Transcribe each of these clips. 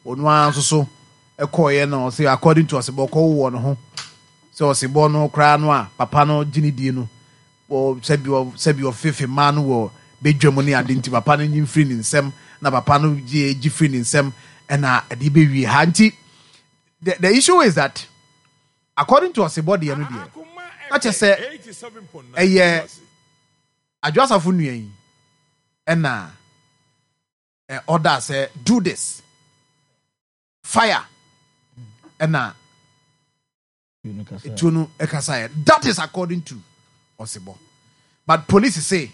Ɔno ara nso so kɔeɛ na ɔse according to ɔsebɔ kɔwowɔ ne ho sɛ ɔsebɔ no koraa no a papa no gye ne die no wɔ sɛbi sɛbi ɔfefe mmaa no wɔ badwa mu ne ade nti papa no nyi mfiri ne nsam na papa no gye gye firi ne nsam ɛna ɛde bɛwie ha nti the issue is that according to ɔsebɔ deɛ no deɛ na kyɛ sɛ ɛyɛ Adwo Asafo nua yi ɛna ɔda sɛ do this fire ɛna etuo no ɛkasaeɛ. That is according to ɔsebɔ, but police say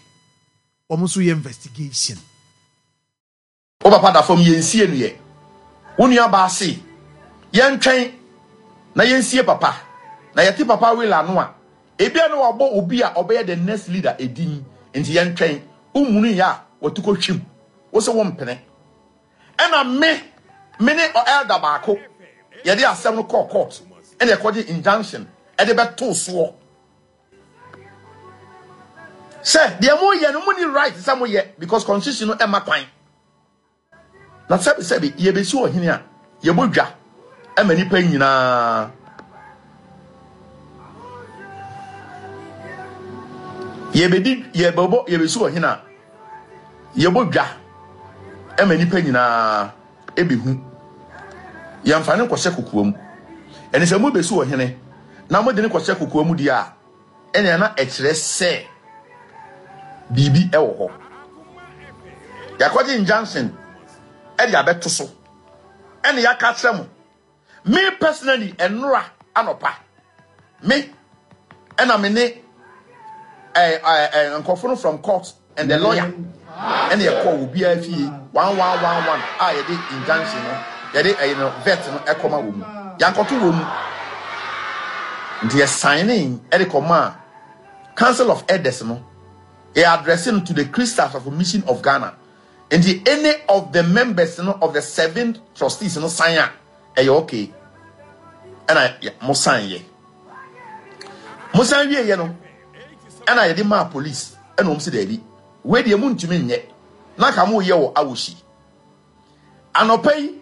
wɔn nso yɛ investigation. Wo papa da fam, yɛnsie no yɛ. Wo nua baa se yɛntwɛn na yɛnsie papa. Na yɛte papa will ano a, ebia na wabɔ obi a ɔbɛyɛ the next leader edin, nti yɛntwɛn. Wommunu yɛ a, watu kɔ hwim. Wo se wompene. Ɛna me, me ne elder baako, yɛde asɛm no kɔɔ court, ɛna yɛkɔgye injunction ɛde bɛtoo soɔ. Sɛ deɛ moyɛ no monni right sɛ moyɛ because constitution no ɛma kwan. Na sɛbi sɛbi yɛbɛsi ɔhene a yɛbɔ dwa ɛma nipa nyinaa. Yɛbɛdi yɛbɛbɔ yɛbɛsi ɔhene a yɛbɔ dwa ɛma nipa nyinaa ɛbɛhu. Yɛmfa no nkɔhyɛ kokoa mu. Ɛne sɛ mobɛsi ɔhene na mode no kɔhyɛ kokoa mu deɛ a, ɛnea na ɛkyerɛ sɛ biribi wɔ hɔ. Yɛakɔgye injunction de abɛto so ɛne yɛaka akyerɛ mo. Me personally, ɛnora anɔpa, me ɛna me ne nkurɔfo no from court and the lawyer ɛna yɛkɔɔ obiara fie one one one one a yɛde injunction no yɛde ɛyɛ no vet no ɛkɔma wɔ mu yankɔto wɔ mu nti yɛ signing ɛde kɔma council of elders no yɛ addressing to the Christ of Mission of Ghana nti any of the members no of the seven trustees no sign a ɛyɛ okay ɛna mo sign yɛ mo san wie yɛ no ɛna yɛde maa police ɛna wɔn si daabi wei deɛ mo ntumi nyɛ na ka mo yɛ wɔ awosi anɔpa yi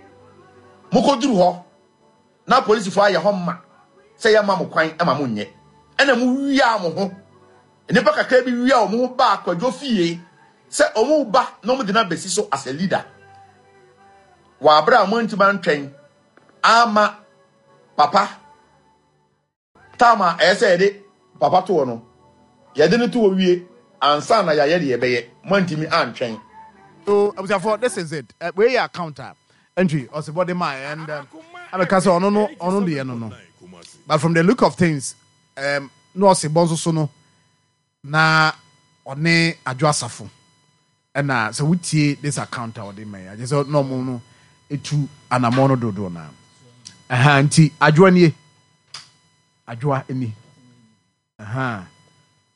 mo kɔ duru hɔ na polisifoɔ ayɛ hɔ ma sɛ yɛ ma mo kwan ma mo nyɛ ɛna mo wia mo ho nnipa kakra bi wia wɔn ho ba akwadwo fie sɛ wɔn ba na wɔn de no abɛsi so as a leader wɔ abere a wɔn ntumi antwɛn ama papa Time a ɛyɛ sɛ yɛde papa to hɔ no, yɛde no to hɔ wie ansa na yɛayɛ deɛ yɛbɛyɛ. Moantumi antwɛn. So abusuafoɔ this is it eh, wei yɛ account a entry ɔsebɔ de maa and um, abɛka sɛ ɔno no ɔno deɛ no no but from the look of things um, na ɔsebɔ nso so no Na ɔne Adwo Asafo ɛna sɛ wotie this account a ɔde ma yi agye sɛ na ɔmo no etu anamɔ no dodoɔ na ɛha nti Adwoa nie Adwoa ni ɛha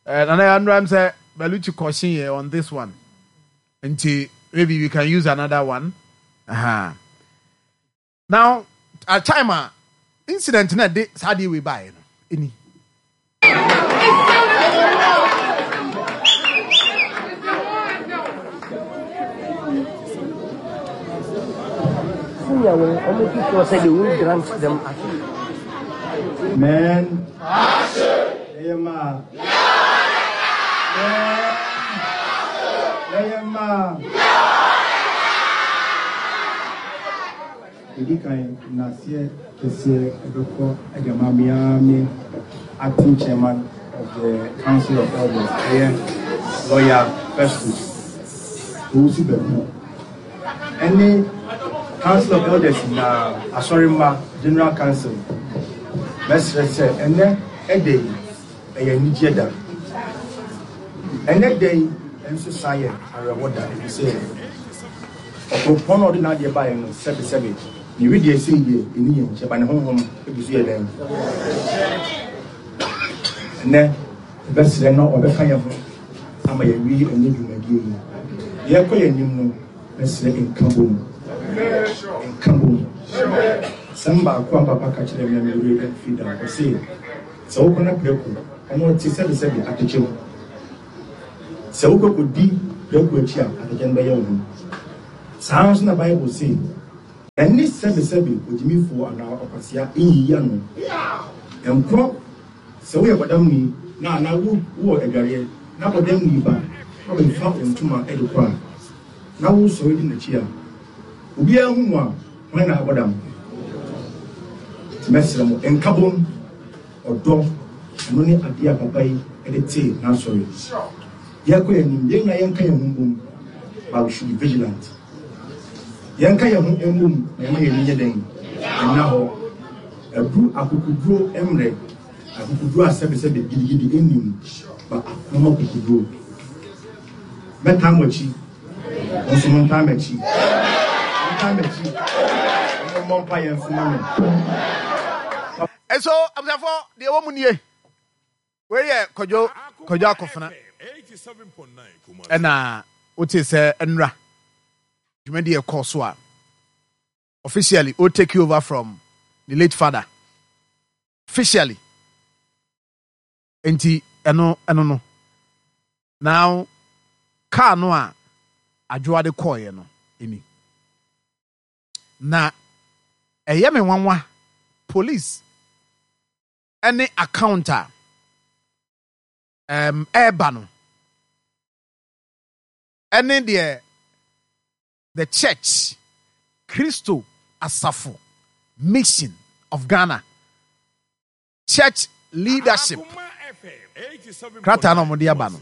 ɛɛ nana yɛ anura m sɛ Baluchi kɔhye yɛ on this one nti maybe we can use another one ɛha. Now at time a incident na ɛde saa adeɛ wei baeɛ no ɛni. Senior wei wɔn make sure sɛ they won't grant them access. Men. Yɛyɛ mmaa. Men. Yɛyɛ mmaa. Ɛdi kan, nnaseɛ kɛseɛ ɛbɛkɔ de ama me ara me acting chairman of the Council of Elders, ɛyɛ Lawyer Festus Owusu Bɛko, ɛne Council of Elders nyinaa, Asɔremma, General Council. Mɛsrɛ sɛ ɛnnɛ ɛda yi, ɛyɛ anigyeɛ da. Ɛnnɛ da yi nso san yɛ awerɛhɔ da, ɛfiri sɛ ɔkoropɔn a ɔde n'adeɛ baeɛ no, sɛbesɛbe, ne wedeɛ sei deɛ, ɛnni yɛn nkyɛn, ba ne honhom gu so yɛ dɛn? Ɛnnɛ, yɛbɛsrɛ na ɔbɛka yɛn ho ama yɛawie ɛnnɛ dwumadie yi. Yɛrekɔ yɛn anim no, mɛsrɛ nkabom. Nkabom. Asɛm baako a papa ka kyerɛɛ me a me werɛ amfiri da, ɔse, Sɛ wokɔ na prako, ɔno ɔte sɛbesɛbe atɛkyɛ mu. Sɛ wokɔ kɔdi prako akyi a, atɛkyɛ no bɛyɛ wo ho. Saa ara nso na Bible se. Ɛne sɛbesɛbe ogyimifoɔ anaa ɔkwasea nyiyi ano. Nkɔ sɛ woyɛ bɔdamni na anaa wo wowɔ adwareɛ na bɔdamni ba na ɔbɛfa wo ntoma de kɔ a, na wosɔre di n'akyi a, obiara hu mo a, hwan na abɔ dam? Nti mɛsrɛ mo, nkabom, ɔdɔ, ɛno ne adeɛ a papa yi de tee n'asɔre. Yɛrekɔ yɛn anim, yɛn nyinaa yɛnka yɛn ho mbom, but we should be vigilant. Yɛnka yɛn ho mbom na yɛma yɛn ani nyɛ dɛn? Ɛnna hɔ. Aduru akokoduro mmerɛ, akokoduro a sɛbesɛbe gidigidi nni mu, ba ako mu akokoduro. Mɛtaa mo akyi, mo nso montaa m'akyi. Montaa m'akyi, na mommɔ mpaeɛ nso ma me. Nso abusuafoɔ deɛ ɛwɔ mu nie. Wei yɛ Kwadwo Kwadwo Akofena ɛna wote sɛ nnura dwumadi ɛkɔɔ so a officially o take over from the late father officially nti ɛno ɛno no now car no a adwoa de kɔɔeɛ no ɛni na ɛyɛ me nwanwa police ɛne account a ɛm ɛɛba no ɛne deɛ the church Kristo asafo mission of Ghana church leadership krataa na wɔde aba no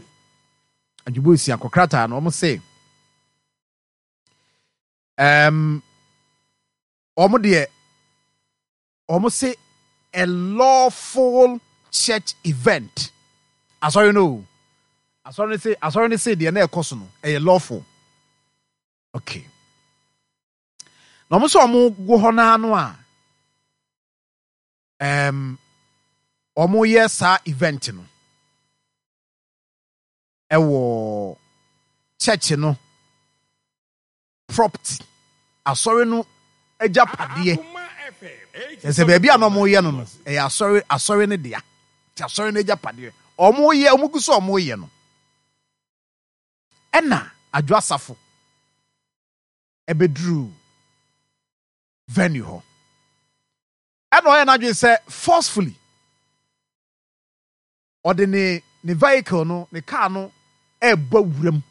adwubo esiakɔ krataa no wɔn se ɛm wɔn deɛ Wɔn se a lawful church event. Asɔre no o. Asɔre no se asɔre no se deɛ na ɛkɔ so no ɛyɛ lawful. Okay. Na wɔn sɛ wɔn gu hɔ naa no a um, wɔn yɛ saa event no ɛwɔ church no property, asɔre no agyapadeɛ. Kyerɛ sɛ baabi a na wɔreyɛ no no, ɛyɛ asɔre asɔre no dea. Nti asɔre no agyapadeɛ. Wɔreyɛ, wɔn gu so a wɔreyɛ no. Ɛna Adwo Asafo ɛbɛduruu venue hɔ. Ɛna ɔyɛ n'adwene sɛ forcefully ɔde ne ne vehicle no, ne car no ɛrebɔ wuram.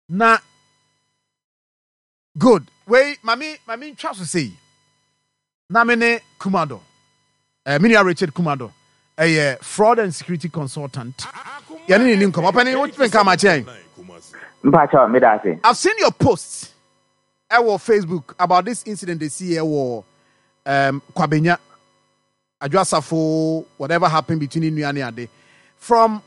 Na good wei mame mame ntwa so sei na me ne Kumado eh, me nua Richard Kumado ɛyɛ fraud and security consultant yɛne ne ni nkɔmɔ ɔpɛni wotumi nka ma kyɛn. Mpakyɛw meda ase. I've seen your post ɛwɔ Facebook about this incident esi ɛwɔ um, Kwabenya. Adwo Asafo whatever happened between ne nua ne ade from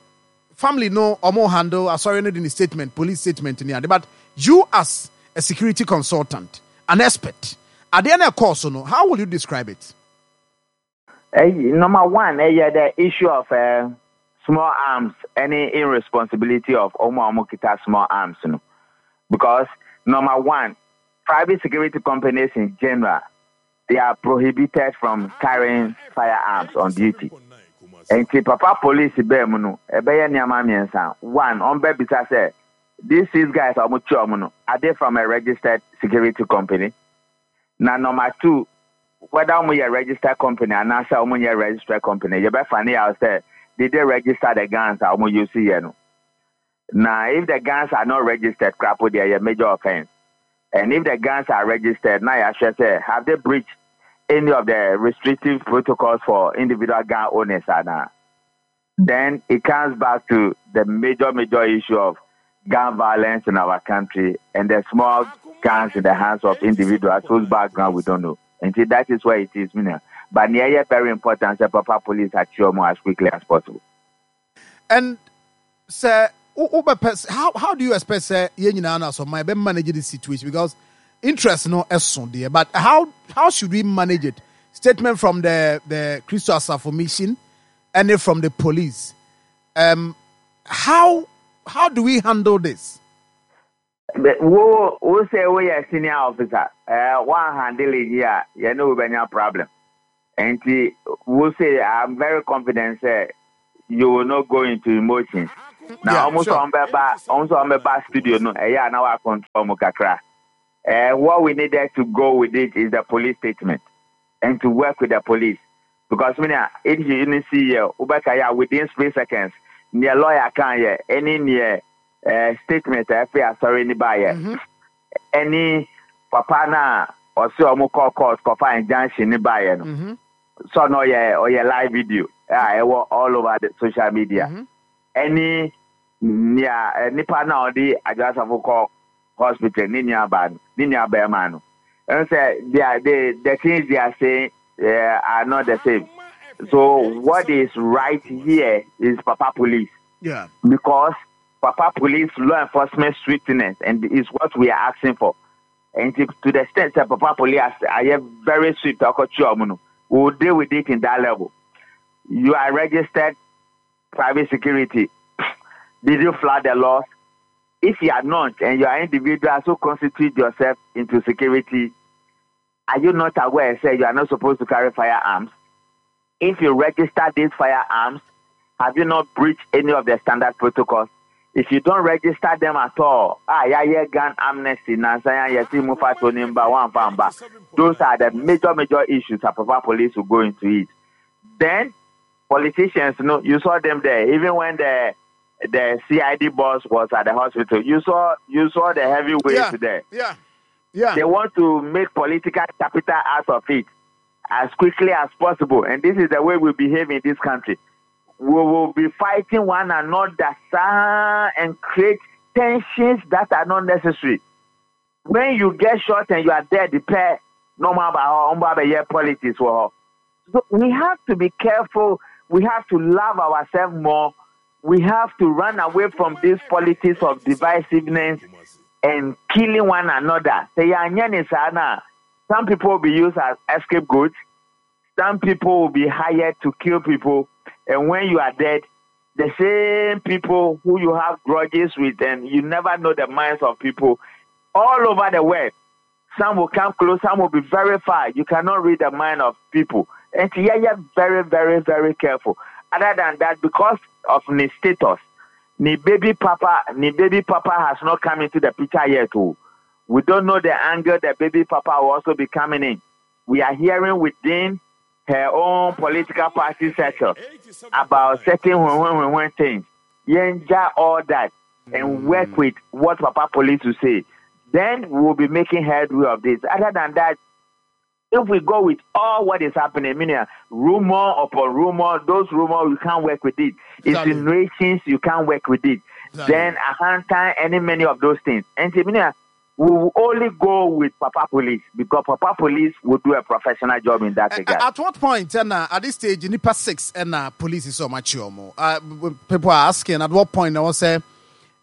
family no ɔmo handle asɔre no de ne statement police statement ne ade but you as a security consultant an expert adeɛ no ɛkɔɔ so no how will you describe it? Ɛyi number one ɛyɛ the issue of uh, small arms ɛne irresponsibility of ɔmo a ɔmo kita small arms no because number one private security companies in general they are prohibited from carrying firearms on duty. Nti papa police baa mu no, ɛbɛyɛ nneɛma mmiɛnsa. One, wɔbɛbisa sɛ, these six guys a wɔkye wɔn no, are they from a registered security company? Na number two, whether wɔyɛ registered company anaasɛ wɔnyɛ registered company, yɛbɛfa ne yaw sɛ, did they register the guns a wɔn use yɛ no? Na if the guns are not registered koraa po deɛ ɛyɛ major offence. And if the guns are registered na yɛahwɛ sɛ have they breached any of the restrictive protocols for individual gun owners anaa. Then it comes back to the major major issue of gun violence in our country and the small guns in the hands of individuals whose background we don't know. Nti that is where it is, me nua. But nea ɛyɛ very important sɛ papa police akye wɔn as quickly as possible. And sɛ wobɛpɛ how how do you expect sɛ yɛn nyinaa no asɔmma yɛbɛ manage this situation because interest no ɛso deɛ but how how should we manage it statement from the the Christo Asafo mission and from the police um, how how do we handle this? Wo wo sɛ woyɛ senior officer eh, woan handle yi a yɛne wo bɛnya problem nti wo say I'm very confident sɛ you will not go into emotions. Na ɔmo sɛ ɔmo bɛba, ɔmo sɛ ɔmo bɛba studio no, ɛyɛ a na wa control ɔmo kakra. Eh, what we needed to go with it is the police statement and to work with the police because me nua if you didn't see yɛ wobɛka yɛ a within split seconds neɛ lawyer kan yɛ ɛne neɛ eh, statement a ɛfiri asɔre ni baayɛ ɛne papa no a ɔse ɔmo kɔ court kɔfa injunction ne baayɛ no sɛ ɔno ɔyɛ ɔyɛ live video a ɛwɔ all over the social media ɛne nea eh, nipa no a ɔde Adwoa Asafo kɔ hospital ne nua baa no ne nua bɛrima no ɛn sɛ they are they the things they are saying uh, are not the same so what is right here is papa police yeah. because papa police law enforcement swiftness and is what we are asking for and to, to the extent that papa police are very swift we will deal with it in that level you are registered private security did you flood the laws if you are not and you are individuals who constitute yourself into security, are you not aware, say you are not supposed to carry firearms? If you register these firearms, have you not breached any of the standard protocols? If you don't register them at all, ah, yeah, yeah, gun amnesty, Nansaya, yesi, mufa, tonimba, one famba. Those are the major, major issues that proper police will go into it. Then, politicians, no, you saw them there. Even when the the CID boss was at the hospital, you saw you saw the heavyweights yeah, there. Yeah, yeah. They want to make political capital out of it as quickly as possible, and this is the way we behave in this country. We will be fighting one another and create tensions that are not necessary. When you get shot and you are dead, the pair no more about politics. So we have to be careful. We have to love ourselves more. We have to run away from this politics of divisiveness and killing one another. Some people will be used as scapegoats. Some people will be hired to kill people. And when you are dead, the same people who you have grudges with, and you never know the minds of people all over the world. Some will come close, some will be very far. You cannot read the mind of people. And yeah, yeah, very, very, very careful. Other than that, because of the status, the baby papa, the baby papa has not come into the picture yet. Too. We don't know the angle the baby papa will also be coming in. We are hearing within her own political party circle about certain when, when, things. Yenja all that and work with what Papa Police will say. Then we will be making headway of this. Other than that, if we go with all what is happening, meaning rumor upon rumor, those rumors you can't work with it. Exactly. Insinuations you can't work with it. Exactly. Then a hunter, any many of those things. And meaning, we will only go with Papa Police because Papa Police will do a professional job in that regard. At what point, and at this stage, nipa six and uh, police is so much more. People are asking at what point I was say,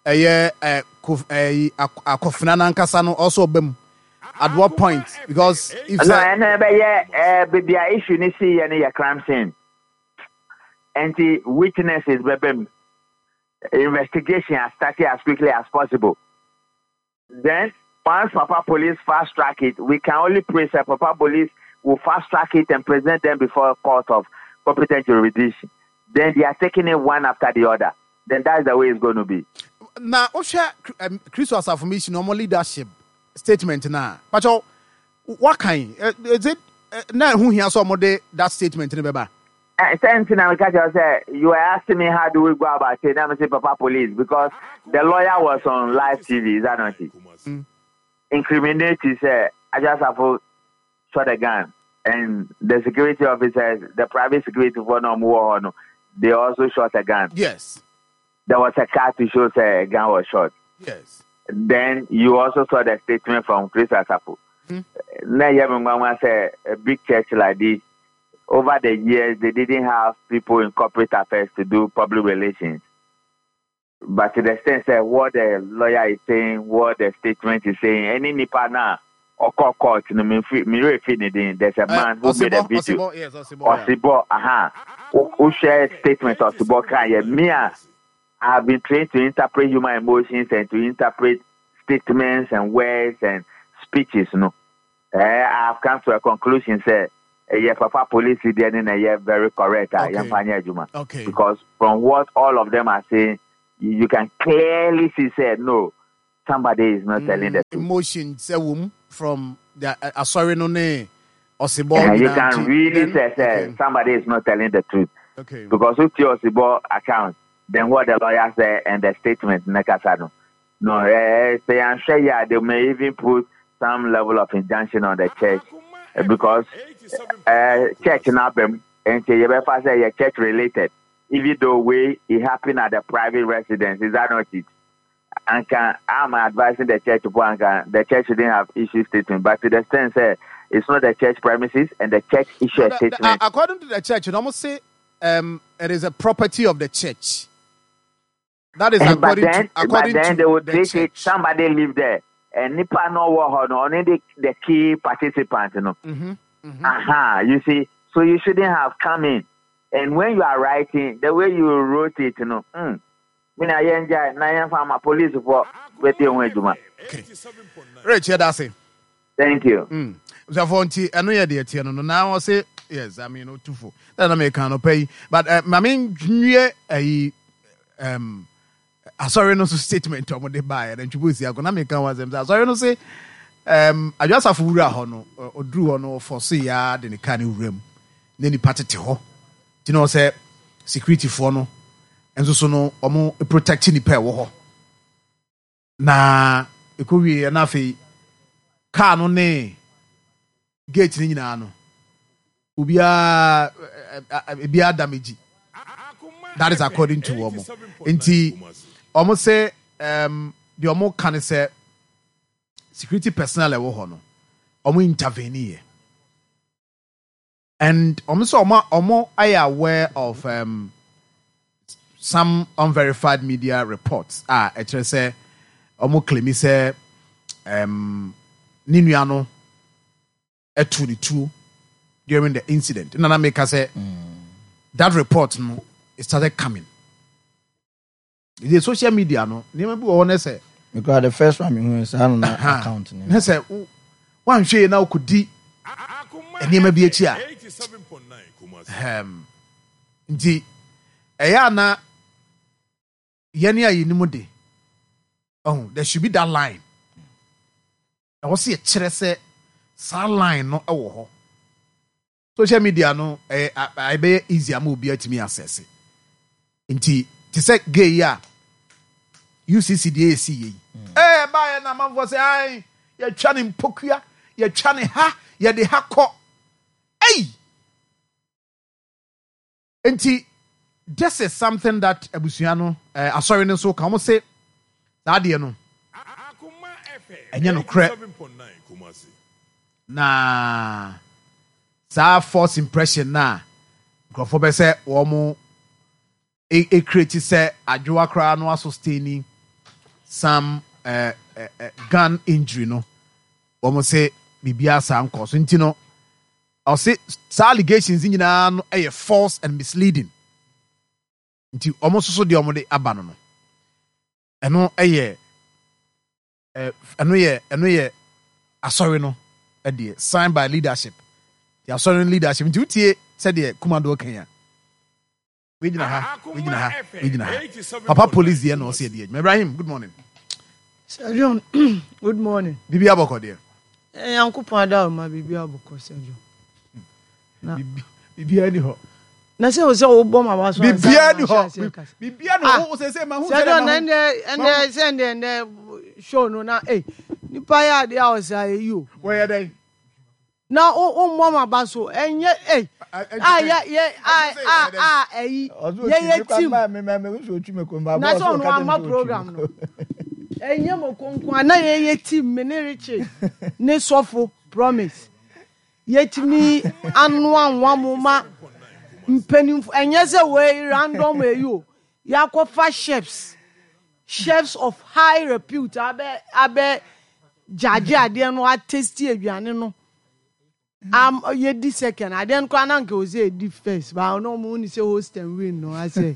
eh, eh, akofena nankasa no also bem. At what point? Because if no, and uh, but yeah, baby, issue ni see any crime scene. And the witnesses, baby, investigation has started as quickly as possible. Then once Papa Police fast track it, we can only pray that Papa Police will fast track it and present them before court of competent jurisdiction. Then they are taking it one after the other. Then that's the way it's going to be. Na wohwɛ Kristo Asafo Mission ɔmo leadership statement na pacho what kind is it na ɛho hia sɛ ɔmo de that statement ne bɛba. Same thing I catch say you were asking me how do we go about it. I'm say Papa Police because the lawyer was on live TV. Is that not it? Mm. Incriminate say Adwoa Safo shot a gun and the security officers, the private security for no more, they also shot a gun. Yes. There was a car to show say a gun was shot. Yes. Then you also saw the statement from Chris Asafo. Mm. Now you have say a big church like this. Over the years, they didn't have people in corporate affairs to do public relations. But to the extent that what the lawyer is saying, what the statement is saying, any nipa na or court court, no me there's a man who made a video. Osibo, yes, Osibo, yeah. Osibo, aha. Who share statement Osibo kan yeah. Me, I have been trained to interpret human emotions and to interpret statements and words and speeches. No, I have come to a conclusion. Say, yeah, Papa Police is very correct. Okay. Okay. Okay. Because from what all of them are saying, you can clearly see sɛ no somebody is not telling the truth. Emotion sɛ wom from the asɔre no ne ɔsebɔ You can really say sɛ somebody is not telling the truth. Okay. Because wotie ɔsebɔ account then what the lawyer said and the statement ne kasa no. No, eh, sɛ yɛanhwɛ yie a they may even put some level of injunction on the church because eh, church no aba mu nti yɛbɛfa sɛ yɛ church related even though wei it happen at the private residence is that not it? Anka I'm advising the church po anka the church shouldn't have issued statement but to the extent sɛ it's not the church premises and the church issue No, a the, the, statement. according to the church, you almost say it is a property of the church. That is But according to then, but according then to they would the treat it. church. Somebody live there, and nipa no wɔ hɔ no, only the key participant, no. Aha, you see, so you shouldn't have come in. And when you are writing, the way you wrote it, no, me na yɛn gya na yɛn fa ma police for bɛte ho adwuma. Okay. Rich, yeah, that's it. Thank you. Abusuafoɔ nti ɛno yɛ deɛ ɛteɛ no no na ɔse yes I mean otufo ɛna na meka no pɛ yi but uh, maame nwie ayi um, asɔre no so statement a wɔde baeɛ na ntwibo si akɔ na meka ho asɛm sɛ asɔre no se um, adwo asafo wura hɔ no ɔduru hɔ no ɔfɔ so yɛ de ne kaa ne wura mu na nipa tete hɔ nti na ɔsɛ securityfoɔ no nso so no wɔn protect nipa ɛwɔ hɔ Na ɛkɔwieeɛ na afei kaa no ne gate no nyinaa no obiara ebiara damage. That is according to wɔn. Nti wɔn sɛ um, deɛ wɔn ka ne sɛ security personnel ɛwɔ hɔ no wɔn intervene yɛ. And wɔn sɛ wɔn wɔn ayɛ aware of um, some unverified media reports a ɛkyerɛ sɛ wɔn claim sɛ um, ne nua no ɛtu ne tuo during the incident. Nana meka sɛ that report no it started coming. The social media no nneɛma bi wɔ hɔ ne sɛ. Because the first one mehu saa no na account ne. Ne sɛ wanhwɛ yie na wokɔdi nneɛma bi akyi a nti ɛyɛ a na yɛne a yɛnim de oh, there should be that line ɛwɔ sɛ yɛkyerɛ sɛ saa line no wɔ hɔ Social media no ɛyɛ ɛbɛyɛ easy ama obi atumi access. Nti te sɛ gay yi a UCC deɛ yɛsi yɛ yi. Mm. Ɛɛ ɛbaayɛ na amanfoɔ sɛ ae yɛtwa ne mpokua yɛtwa ne ha yɛde ha kɔ. Ei! Nti this is something that abusua no eh, asɔre no nso ka wɔn se saa adeɛ no ɛnyɛ nokorɛ na saa false impression na nkurɔfoɔ bɛ sɛ wɔn ekreti sɛ adwoa koraa no asosteni some eh, eh, eh, gun injury no wɔn se biribiara saa nkɔ so nti no Ɔse saa allegations yi nyinaa no yɛ false and misleading. Nti wɔn nso so deɛ wɔn de aba no no, ɛno yɛ ɛno yɛ ɛno yɛ asɔre no deɛ signed by leadership. Nti asɔre no leadership nti wotie sɛdeɛ Kumadoɔ kan a. Wei gyina ha, wei gyina ha, wei gyina ha. Papa police deɛ na ɔsɛ ɛdi adwuma. Ibrahim, good morning. Sir John, good morning. Bibi abɔkɔ deɛ. Eh, Nyankopɔn ada ma bibi abɔkɔ Sir John. Na bibi ani hɔ. Na sɛ sɛ wobɔ ma waso ansa. Bibi ani hɔ. Bibi ani hɔ. Wo sɛ sɛ ma hu sɛ ma hu. Sir John, ɛndɛ sɛ ɛndɛ ɛndɛ show no na eh nipa yɛ adeɛ a ɔsɛ ayɛ yi o. Wɔyɛ dɛn? Na wo wo mmɔ m'aba so ɛnyɛ ei a yɛ yɛ a a a ɛyi yɛ yɛ team na sɛ ɔno ama program no ɛnyɛ mo konko a na yɛ yɛ team me ne Richie ne sɔfo promise yɛtumi anoa nwa mo ma mpanimfo ɛnyɛ sɛ wei random ɛyi o yɛakɔfa chefs Chefs of high repute abɛ abɛ gyagye adeɛ no atesti aduane no am yɛdi second adeɛ no koraa na nka ɔsɛ yɛdi first ba ɔno ɔmo ni sɛ host and win no asɛ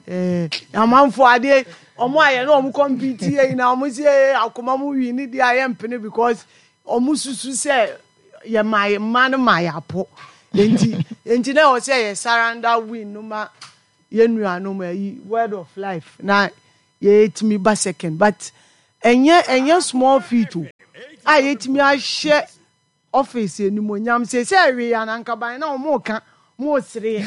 ɛɛ amanfo adeɛ ɔmo ayɛ na ɔmo compete yɛ nyinaa ɔmo sɛ ee akoma mo win ne deɛ ayɛ mpene because ɔmo susu sɛ yɛ maa yɛ mmaa no maa yɛ apo nti nti na ɛwɔ sɛ yɛ surrender win no ma. Yɛn nuanom ayi word of life na yɛtumi ba second but ɛnyɛ ɛnyɛ small feat o a yɛtumi ahyɛ office animuonyam seesei ɛwee a na anka ban na wɔn reka mo sereɛ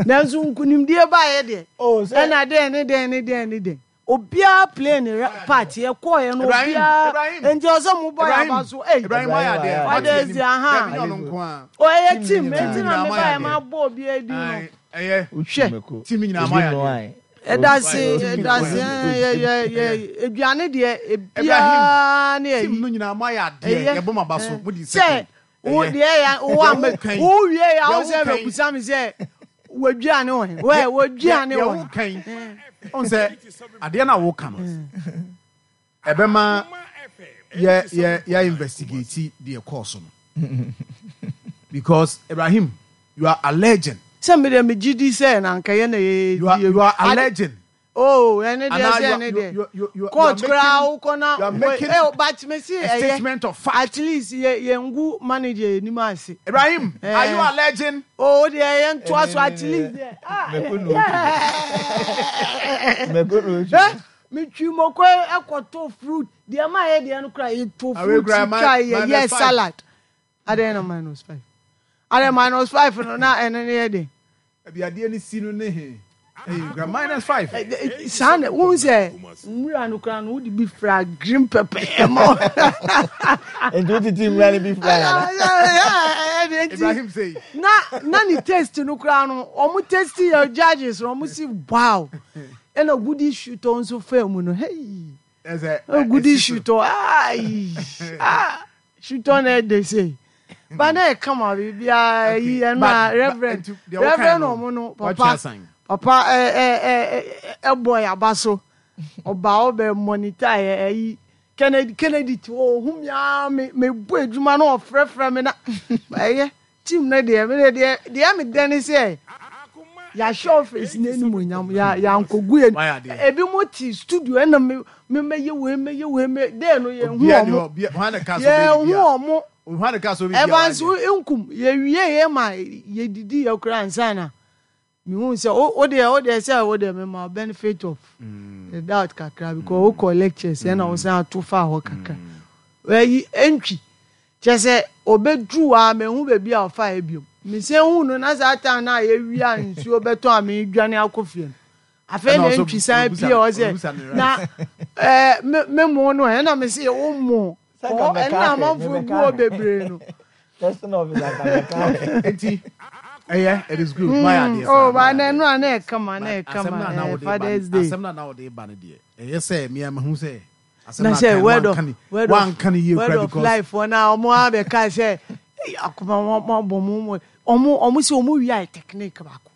nanso nkunimdie baeɛ deɛ Oh, sɛ ɛna dɛn ne dɛn ne dɛn ne dɛn obiara play ne part yɛkɔɔɛ no Ibrahim, obiara Ibrahim, nti ɔsɛ mo bɔ yɛ Ibrahim, aba so ei Ibrahim ayɛ adeɛ. Ibrahim ayɛ Wate Father's anim. Day aha Dabi nyɛ ɔno nko a. ɔyɛ Team team no nti nyinaa na Nyinaa me mo ayɛ baeɛ adeɛ. ma bɔ obiara din no Ae, ɛyɛ. Wotwi hwɛ mako. Team nyinaa Ebi mo ayɛ no adeɛ. ae. ɛda se Team ɛda nyinaa mo se ayɛ adeɛ. yɛ yɛ yɛ aduane deɛ Ibrahim, ebiara ne team ayi no nyinaa mo ayɛ adeɛ. ɛyɛ Yɛbɔ mo aba so. Mo di sɛ second. wo Ɛyɛ. deɛ ya wo Deɛ ama woka yi, wo wie ya deɛ wo sɛ woka yi, bɛbusa me sɛ wɔaduane wɔ he wɛ deɛ wɔaduane deɛ wɔ he woka yi, ɔn sɛ adeɛ no a woka no, ɛbɛma yɛ yɛ yɛ investigate deɛ ɛkɔɔ so no. Because Ibrahim, you are alleging. Sɛ me deɛ megye di sɛ na anka yɛ na You are yɛdi you are ade alleging. oh ɛne deɛ Anaa sɛ you are ɛne you deɛ you you you you are court koraa making wokɔ na you are wɔ making eh but me se a ɛyɛ statement of fact. at least yɛ yɛngu manager anim ase Ibrahim, are you eh alleging? oh deɛ yɛntoa so at least deɛ ah Mako na otwi. Mako na otwi. eh metwi moko ɛkɔtɔ fruit deɛ ma yɛ deɛ no koraa yɛtɔ Awe fruit kura twa yɛ minus yɛ 5. salad adɛn na -5 adɛn -5 no na ɛno ne yɛ den. Ebi adeɛ ne si no ne he. Ɛyɛ kura -5. Saa na wohu sɛ nwura no koraa no wode bi fra green pepper ɛmɔ. Nti wotete nwura no bi fra yɛ ana? Ibrahim say. Na na ne taste no koraa no ɔmo taste yɛ judges no ɔmo si wow ɛna gudi shutɔ nso faa mu no hey Ɛsɛ gudi ɛsi so. shutɔ ayi ah shutɔ na ɛde sei ba na ɛkama biribiara yi Okay, ɛno but a but reverend nti deɛ wokae reverend no ɔmo no watwe papa asan. papa ɛ ɛ ɛ ɛbɔ yaba so ɔba ɔbɛ monitor yɛ ɛyi Kennedy Kennedy ti hɔ ohun mi aa me me bɔ adwuma na ɔfrɛfrɛ mi na ɛyɛ team no deɛ me deɛ deɛ me dɛ ne sɛ yɛahyɛ office n'anim onyam yɛ yɛankɔgu yɛ Wayɛ adeɛ. ebi mo te studio ɛna me me mɛyɛ wei mɛyɛ wei mɛ dɛɛ no yɛn hu Obiara ni ɔmo hɔ. Obiara hwan na ka so bɛyɛ yɛn hu biribiara. ɔmo Hwan na ka so biribiara Evans wayɛ. nkum yɛwie yɛ ma yɛdidi yɛ koraa ansa na mehu sɛ wo deɛ wo deɛ sɛ wo deɛ mema benefit of the doubt kakra because wokɔ lectures ɛna wo san ato fa hɔ kakra ɛyi ɛntwi kyɛ sɛ ɔbɛduru a mehu baabi a ɔfa yɛ biom mesɛ hu no na saa time no a yɛwie a nsuo bɛtɔ a medwane akɔ fie no afei Ɛna na ɔso ntwi san ɔbusa pie hɔ sɛ ɔbusa ne na rice. ɛɛ me me mo no ɛna me se wo mo Sɛ nka kɔ mɛka ɛna ahwɛ, amanfoɔ mebɛka gu hɔ ahwɛ. bebree no Testing officer nka mɛka ahwɛ. Nti ɛyɛ it is good. Wayɛ adeɛ oh paa ba wayɛ na adeɛ. ɛno a na ɛkama na But asɛm ɛkama no a na ɛɛ wode ba no Father's Day asɛm no a na wode ba no deɛ ɛyɛ sɛ mmea mahu sɛ asɛm na no sɛ aka no word of wanka ne word of wanka ne yie word kora of because life wɔn a wɔn abɛka sɛ "Ei, akoma wɔn wɔn abɔ mo mo wɔn wɔn sɛ wɔn wia yɛ technique baako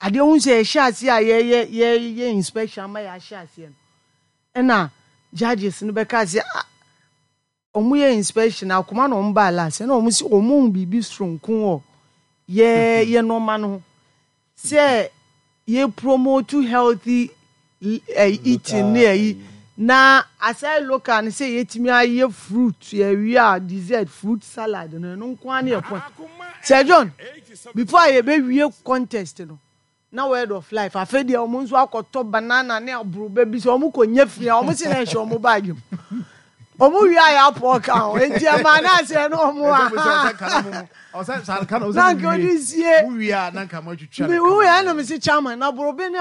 adeɛ ho sɛ yɛhyɛ aseɛ a yɛyɛ yɛyɛ inspection ama yɛahyɛ aseɛ no ɛna judges no bɛka sɛ ah wɔn yɛ inspection akoma na wɔn baa last ɛna wɔn sɛ wɔn hu biribi soronko wɔ yɛ yɛ nneɛma no ho sɛ yɛ promote healthy eating ne ɛyi na aside local no sɛ yɛtumi ayɛ fruit yɛwie a dessert fruit salad no ɛno nko ara ne yɛ point Sir John before a yɛbɛwie contest no na word of life afei deɛ wɔn nso akɔtɔ banana ne aburoba bi sɛ wɔn kɔ nye firi a wɔn si na ɛhyɛ wɔn baagi mu wɔn wie a yɛ apɔ ka ho eti ɛma na asɛ no wɔn a na nka odi sie mi wu yɛ ɛna mi si chairman na aburoba ne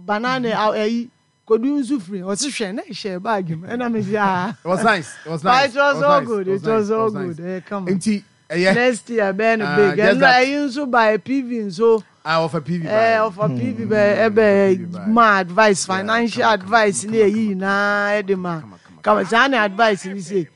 banana ɛyi kodu nso firi ɔsi hwɛ na ɛhyɛ baagi mu ɛna mi si ah. It was nice. It was nice. But it was all nice. good. It was It was nice. all It was nice. good. Ɛyɛ kama. Nti ɛyɛ. Next year bɛyɛ no big. Just Ɛno that. ɛyi nso by PV nso. Ah, ɔfa PV Ɛɛ by. ɔfa PV bɛ ɛbɛ PV by. ma advice Yeah, financial kama, kama, advice kama, ne kama, ɛyi kama, nyinaa ɛde ma kama, kama, kama saa ne advice ni se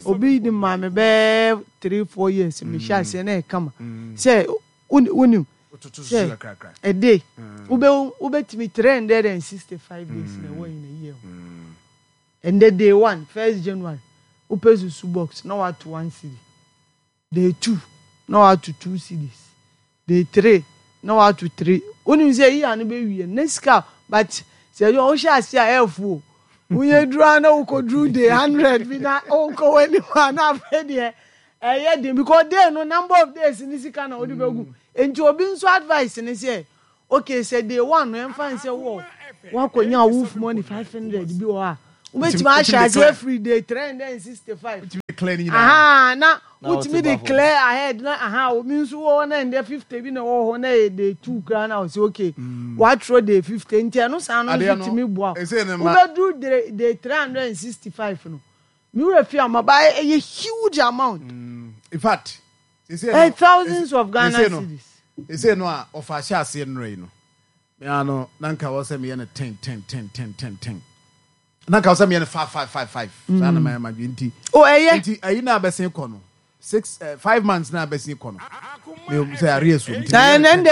obi di ma me bɛɛ 3, 4 years me hyɛ aseɛ na ɛkama sɛ wonim Wototo sɛ so kakra. a day wobɛ wobɛtumi 365 days na ɛwɔ in a year ɛndɛ day one 1st January wopɛ susu box na wato 1 cedi, day two na wato 2 cedis, day three na wato three. Wonim sɛ yi ano bɛwie ne sika but sɛ ɛyɛ wohyɛ ase a ɛɛfo o wonyɛ duru a na wokɔduru day 100 bi na wokɔ w'anim a na afei deɛ ɛyɛ den because day no number of days ne sika na wode bɛgu. Nti obi nso advice ne sɛ Okay sɛ day one no yɛmfa no sɛ wɔ woakɔnya wolf money 500 bi wɔ hɔ a wobɛtumi ahyɛ aseɛ afiri day 365 aha na wotumi de clear ahead na aha obi nso wɔ hɔ na ɛndɛ 50 bi na ɛwɔ hɔ na ɛyɛ day 2 koraa na ɔsɛ okay watwerɛ day 50 nti ɛno saa no nso tumi boa wobɛduru day 365 no me werɛ fi ama ba ɛyɛ huge amount in fact Eh, thousands of Ghana cedis. Sese no a ɔfa ahyɛ aseɛ nnora yi no, me ara no na nka wɔ sɛ meyɛ no ten ten ten ten ten ten. Na nka wɔ sɛ meyɛ no five five five five. Saa na mayɛ madwe nti. O ɛyɛ. Nti ayi na abɛsen kɔ no six eh, 5 months na abɛsen kɔ no. Me sɛ arrears wɔ mu. Nti meyɛ no ten. Ɛnɛ de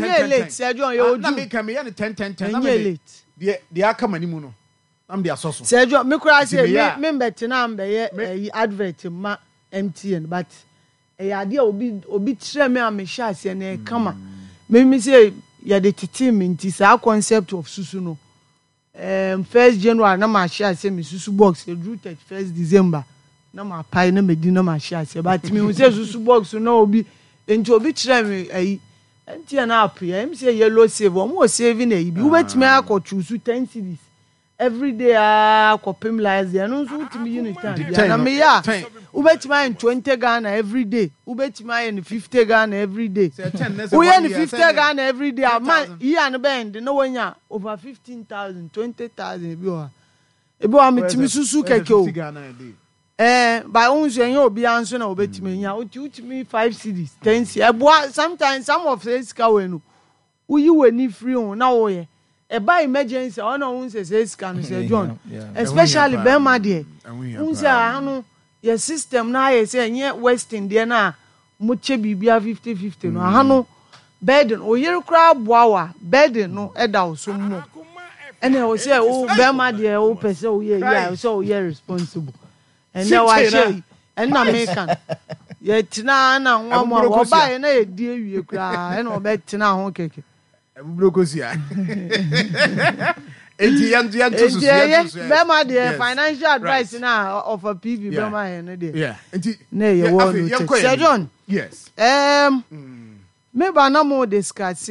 ɛnyɛ late sɛ John yɛ oju. Na meka meyɛ no ten ten ten. Ɛnyɛ late. Deɛ deɛ aka m'anim no na mede asɔ so. Sɛ John me koraa sɛ me me mbɛtena mbɛyɛ ɛyi advert ma MTN but ɛyɛ adeɛ a obi obi kyerɛ me a mehyɛ aseɛ na ɛyɛ kama. Me me sɛ yɛde tetee me nti saa concept of susu no um, first January na mahyɛ aseɛ me susu box eduru 31st December na mapae na medi na mahyɛ aseɛ but mehu sɛ susu box na obi nti obi kyerɛ me ayi MTN app yɛ ɛm sɛ yellow save wɔn wɔ saving ayi bi wobɛtumi akɔ choose 10 cedis Everyday aa kɔpem last day ɛno nso wotumi yi no time bia na meyɛ a wobɛtumi ayɛ no 20 Ghana everyday wobɛtumi ayɛ no 50 Ghana everyday woyɛ no 50 Ghana everyday a ma year no bɛyɛ de na wanya over 15,000 20,000 ebi wɔ ha ebi wɔ ha metumi susu kɛkɛ o ɛɛ ba wo nso ɛnyɛ obiara nso na wobɛtumi anya wotu wotumi 5 cedis 10 cedis ɛboa sometimes some of sɛ sika wɔ no Woyi w'ani firi ho na woyɛ. Ɛba emergency a ɔna wohu sɛ sɛ sika no sɛ John especially bɛrima deɛ wohu sɛ aha no yɛ system no ayɛ sɛ ɛnyɛ western deɛ no a mokyɛ biribia 50 50 no aha no burden oyere koraa boa wo a burden no ɛda wo so mmɔ ɛna ɛwɔ sɛ wo bɛrima deɛ wopɛ sɛ woyɛ yi a ɛwɔ sɛ woyɛ responsible Ɛnɛ wahyɛ yi ɛnna meka no yɛtena na nwamoa wɔbaeɛ na yɛdi awie koraa ɛna wɔbɛtena ho kɛkɛ. Abuburo kosua. Enti yɛn yɛn to so yɛn to so. Bɛma deɛ financial advice na ɔfa PV bɛma yɛn no deɛ. Nti na ɛyɛ wɔ no kyɛ. Sir John. Yes. Um, me ba na mo discuss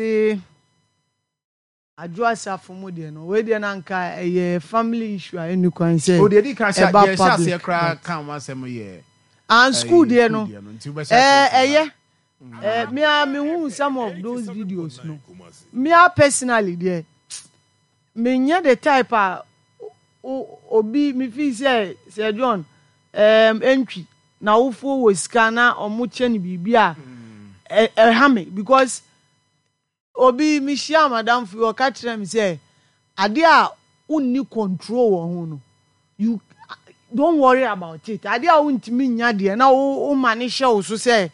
Adwo asafo mu deɛ no, wei deɛ na anka ɛyɛ family issue a ɛnni kwan sɛ Oh, deɛ di kan hyɛ ɛba deɛ ɛhyɛ aseɛ public koraa but ka ho asɛm yɛ and school ɛyi deɛ school no deɛ no nti wobɛhyɛ ɛɛ aseɛ firi ɛyɛ ha. ɛɛ me ara me hu some of those videos no me ara personally deɛ me nyɛ the type a o obi me feel sɛ Sir John ɛɛm ɛntwi n'awofoɔ wɔ sika na wɔn kyɛ no biribi a ɛ ɛha me because. Obi, mehyiaa m'adamfo bi, ɔka kyerɛɛ me sɛ, adeɛ a wonni control wɔ ho no, you don't worry about it. Adeɛ a wontumi nnya deɛ na woma no hyɛ wo so sɛ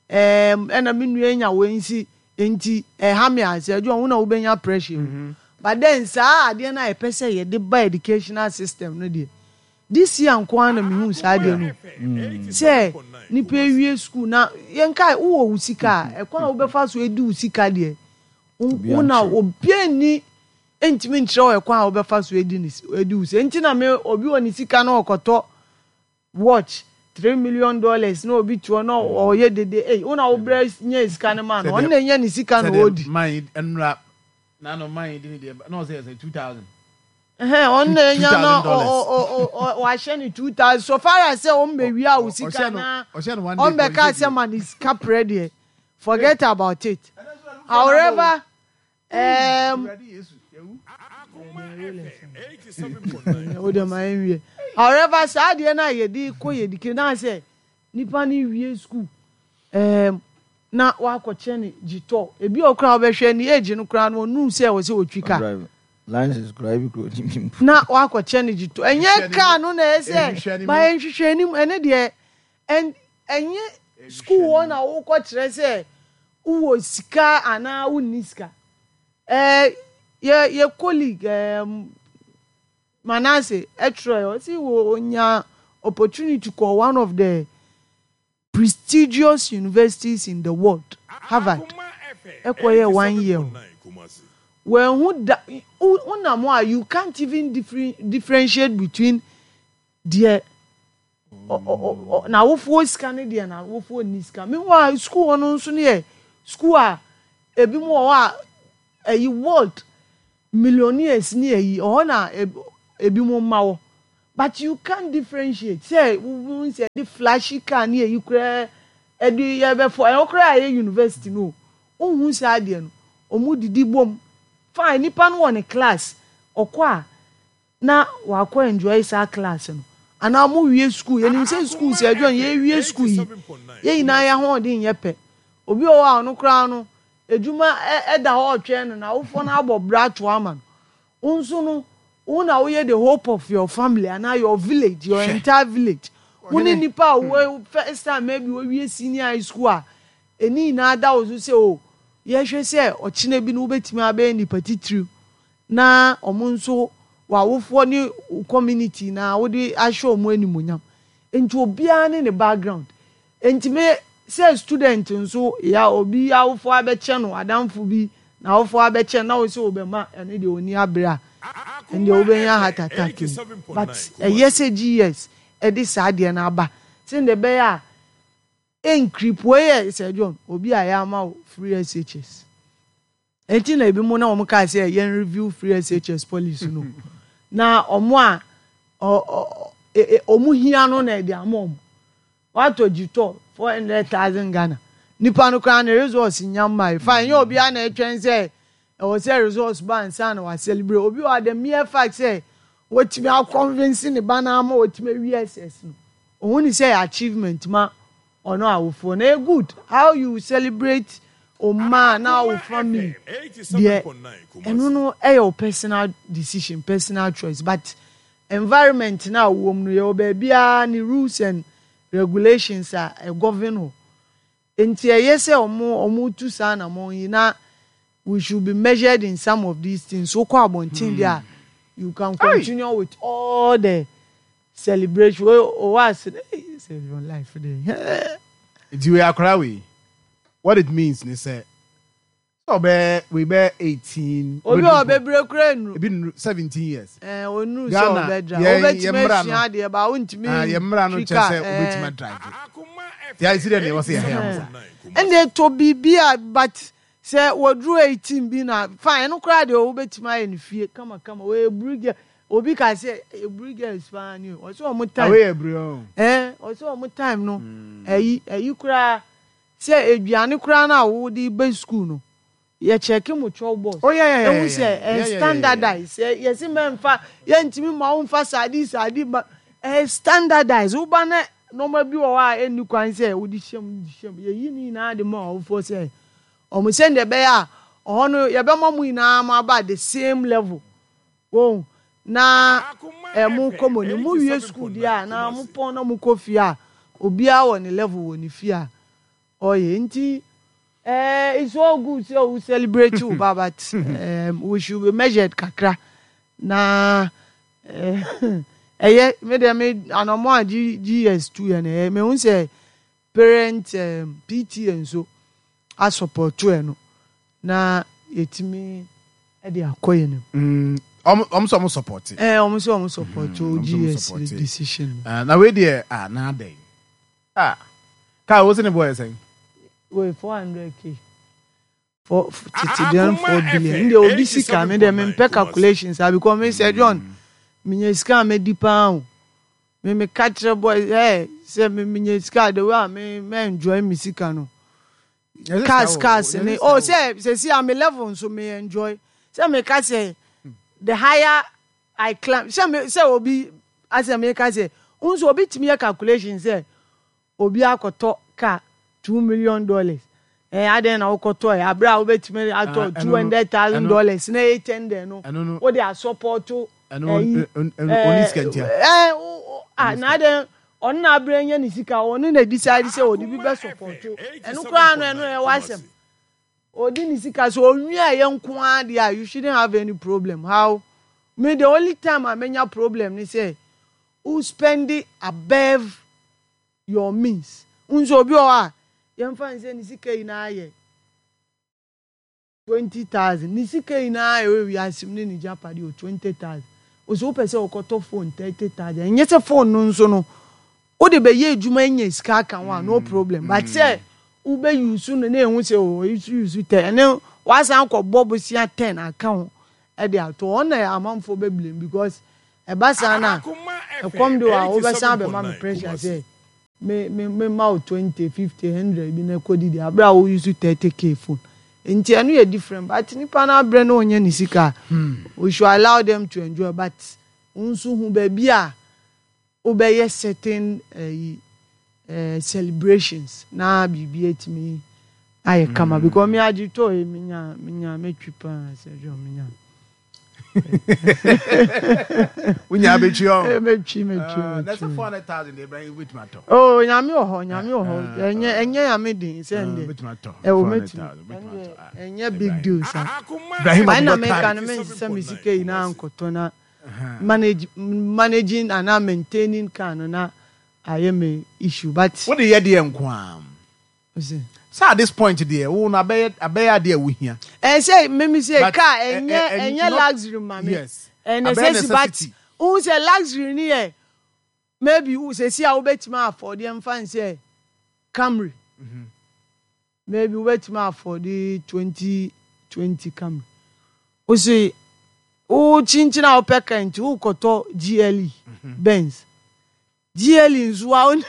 ɛɛm ɛna me nua anya wei nsi nti ɛha me a, sɛ adwuma wo na wobɛnya pressure mu. But then saa adeɛ no a yɛpɛ sɛ yɛde ba educational system no deɛ, This year nko ara na mehuu saa adeɛ no sɛ nipa ewie school na yɛnka wowɔ wo sika a ɛkwan a wobɛfa so edi wo sika deɛ wo na obiara nni ntumi nkyerɛ wo ɛkwan a wobɛfa so edi ne edi wo sika nti na me obi wɔ ne sika na ɔkɔtɔ watch $3 million na obi toɔ na ɔyɛ dede ei wo na wobrɛ nyɛ sika no ma no ɔno na enya ne sika na ɔdi. Man yi nnura na no man yi di ne deɛ na ɔsɛ yɛ sɛ 2000. Ɛhɛn, ɔno na enya na ɔahyɛ no 2000 so far as sɛ ɔmmbewia wo sika na ɔmmbɛka sɛ ma ne sika prɛ deɛ, forget about it. However, um, wode ma yɛnwie. However, saa adeɛ no a yɛde kɔ yɛde kiri na sɛ Nipa no wie school ɛɛm na wakɔ kyɛ no gyitɔ ebi wɔ koraa wobɛhwɛ ne age no koraa no ɔnuu sɛ ɛwɔ sɛ ɔtwi car. Ɔdrive license koraa ebi koraa ɔnim bi mpo. Na wakɔ kyɛ no gyitɔ ɛnyɛ car no na ɛyɛ sɛ ba nhwehwɛ anim ɛne deɛ ɛn ɛnyɛ school hɔ na wokɔ kyerɛ sɛ wowɔ sika anaa wonni sika ɛɛ yɛ yɛ colleague ɛɛm. Manasseh twerɛɛ, ɔse ɔnyaa opportunity kɔɔ one of the prestigious universities in the world, Harvard, ɛkɔyɛɛ one year hɔ. Wanhu da, wonam hɔ a you can't even differentiate between deɛ n'awofoɔ sika ne deɛ n'awofoɔ nni sika. Meanwhile, school hɔ no nso no yɛ school a ebinom wɔ hɔ a. ɛyi world millionaires ne ɛyi ɛhɔ na ebi mo mma wɔ but you can't differentiate sɛ wo sɛ ɛde flashy car ne ɛyi koraa ɛde yɛbɛfɔ ɛhɔ koraa ɛyɛ university no o wohu saa adeɛ no ɔmo didi bom fine nipa no wɔ ne class ɔkɔ a na wakɔ enjoy saa class no anaa ɔmo wie school yɛnim sɛ school sɛ ɛdwɔn yɛwie school yi yɛn nyinaa yɛn ahoɔden nyɛ pɛ obi wɔ hɔ a ɔno koraa no adwuma ɛda hɔ ɔtwɛn no na awofoɔ no abɔ bra to ama no wo nso no wo na woyɛ the hope of your family anaa your village your entire village wo ne nipa a wo first time maybe wowie senior high school a ɛni nyinaa da wo so sɛ o yɛhwɛ sɛ ɔkyena bi no wobɛtumi abɛyɛ nipa titiriw na wɔn nso w'awofoɔ ne wo community na wode ahyɛ wɔn animuonyam. Nti obiara ne ne background. Nti me sɛ student nso ya obi awofoɔ abɛkyɛ no adamfo bi na awofoɔ abɛkyɛ no na wo sɛ wobɛma ɛno deɛ ɔni abere a ɛndeɛ wobɛnya heart attack mu. But ɛyɛ sɛ GS ɛde saa adeɛ no aba sɛdeɛ ɛbɛyɛ a ɛnkrip. Wei yɛ Sir John obi a yɛama wo free SHS. Enti na ebinom na wɔn kaa sɛ yɛn review free SHS policy no. Na wɔn a wɔn hia no na ɛde ama wɔn. Watɔ gyitɔ 400,000 Ghana. Nipa no koraa ne results nya mmae. Fine, nyɛ obiara na ɛtwɛn sɛ ɛwɔ sɛ results ba ansa na wa celebrate. Obi wɔ the mere fact sɛ wɔtumi akɔnvince ne ba no ama wɔtumi awie SS no. Ohun ne sɛ achievement ma Ɔno awofoɔ no ɛyɛ good how you celebrate wo mma anaa wo family deɛ ɛno no ɛyɛ wo personal decision personal choice but environment no a wowɔ mu no yɛwɔ baabiara ne rules and regulations a ɛgovern hɔ nti ɛyɛ sɛ ɔmo ɔmo tu saa anamɔn yi na we should be measured in some of these things wokɔ abɔnten deɛ a you can continue with all the Celebration wei owɔ ase no ei save your life de hɛɛ. Nti wei akwadaa wei what it means ne sɛ sɛ ɔbɛyɛ wei bɛyɛ 18 Obi a ɔbɛbrɛ kura nnuru. Ebi nnuru 17 years. Ɛɛ onnuru sɛ ɔbɛdra. Wobɛtumi asua adeɛ ba wontumi ah, yɛ mmara no kyerɛ sɛ wobɛtumi adrive. Ti ayɛ si dɛ nea ɛwɔ sɛ yɛhɛ ho saa. Ɛnna ɛtɔ biribi a but sɛ wɔduru 18 bi na fine ɛno koraa deɛ wobɛtumi ayɛ no fie kamakama wɔyɛ buru Obi ka sɛ eburi girls paa ni o. Ɔsɛ ɔmo time. Awe eburi o. Ɛɛ ɔsɛ ɔmo time no. Ɛyi ɛyi koraa sɛ aduane koraa na wode bɛ school no. Yɛ check mo chop box. Oh yeah yeah yeah. Ehu sɛ ɛyɛ standardize. Yɛ yɛsi mɛnfa yɛntumi ma wo nfa sardine sardine ma ɛyɛ standardize. Woba na nneɛma bi wɔ hɔ a ɛnni kwan sɛ wode hyɛ mu de hyɛ mu. Yɛyi ne nyinaa de ma ɔwofoɔ sɛ ɔmo sɛnea ɛbɛyɛ a ɔhɔ no yɛbɛma mo nyinaa mo aba the same level. Wohu? Na eh, mo kɔ mo anim. Mo wie school deɛ a, na mo pɔn na mo kɔ fie a, obiara wɔ ne level wɔ ne fie a ɔyɛ. Nti eh, it's all good sɛ wo celebrate wo ba but eh, we should be measured kakra. Na eh, ɛyɛ me deɛ me anɔmɔ a G, GS tu yɛ no ɛyɛ mehu sɛ Parent PTA nso asɔpɔto ɛno na yɛtumi de akɔ yɛn anim. Wɔn sɛ wɔn sɔpɔte. Ɛɛ wɔn sɛ wɔn sɔpɔte o GS decision. Na wei deɛ ah na adɛn ah kaa wo se ne boɔ yɛ sɛn. Wei 400k. For tete deɛ no 4 billion. Ndeɛ obi sika me deɛ mempɛ calculations ah because me sɛ John menya sika a mɛdi paa o. Me me ka kyerɛ boy eh sɛ me menya sika the way a me me enjoy me sika no. Cars cars ne oh sɛ sɛ si a me level nso me enjoy. Sɛ me ka sɛ the higher I climb sɛ me sɛ obi asɛ me ka sɛ nso obi tumi yɛ calculation sɛ Obi akɔtɔ car $2 million eh, adɛn na wokɔtɔɛ aberɛ a wobɛtumi atɔ $200,000 na $800 no wode asɔpɔto ɛyi eh, ah, na adɛn ɔno na aberɛ nya ne sika ɔno na decide sɛ ɔde bi bɛsɔpɔto ɛno koraa no ɛno ɛwɔ asɛm ɔde ne sika so ɔnwi a yɛ nko ara deɛ a you shouldn't have any problem how me the only time a menya problem ne sɛ wo spend above your means. Wohu sɛ obi wɔ hɔ a, yɛmfa no sɛ ne sika nyinaa yɛ 20,000. Ne sika nyinaa a ɛwɔ wiase mu ne ne gyapadeɛ wɔ 20,000. Wo sɛ wopɛ sɛ wokɔtɔ phone 30,000. Ɛnyɛ sɛ phone no nso no, wode bɛyɛ adwuma anya sika aka ho a, no problem. But sɛ mm. Wobɛ use no na ehu sɛ o oyi nso use 10 ɛne wasan akɔ bɔ bosia 10 aka ho ɛde ato hɔ ɔno na amanfoɔ bɛ blame because ɛba saa na ɛkɔm de wo a wobɛsan abɛma me pressure sɛ me me me ma wo 20 50 100 bi na ɛkɔ didi abere a wo use 30k phone nti ɛno yɛ different but nipa no abrɛ na ɔnya ne sika a we should allow them to enjoy but wo nso hu baabi a wobɛyɛ certain ɛyi eh, celebrations na biribi atumi ayɛ kama because me agye tɔ yi menya menya mɛtwi paa sɛ dwom menya wonya bɛtwi ɔ eh, mɛtwi mɛtwi ah, na sɛ mɛtwi 400,000 deɛ Ibrahim wobɛtumi atɔ oh nyame wɔ hɔ nyame wɔ hɔ ɛnyɛ ɛnyɛ nyame den sɛ ndɛ wobɛtumi atɔ ɛwɔ mɛtumi 400,000 wobɛtumi atɔ ah. ɛnyɛ big deal saa Ibrahim ɛna Abubakar meka no mensesa me sika yi na ankɔtɔ na manage managing anaa maintaining car no na ayɛ me issue but. Wode yɛ deɛ nko ara. Ose. Sɛ at this point deɛ wo no abɛyɛ abɛyɛ adeɛ a wohia. Ɛn sɛ mimi sɛ car ɛnyɛ ɛnyɛ luxury ma me. Yes. Ɛyɛ necessity but wohu sɛ luxury no yɛ maybe sɛsi a wobɛtumi afford yɛmfa no sɛ Camry. Maybe wobɛtumi afford 2020 Camry. Wose wo kyinkyin a wopɛ car nti wokɔtɔ GLE Benz. GLE nso a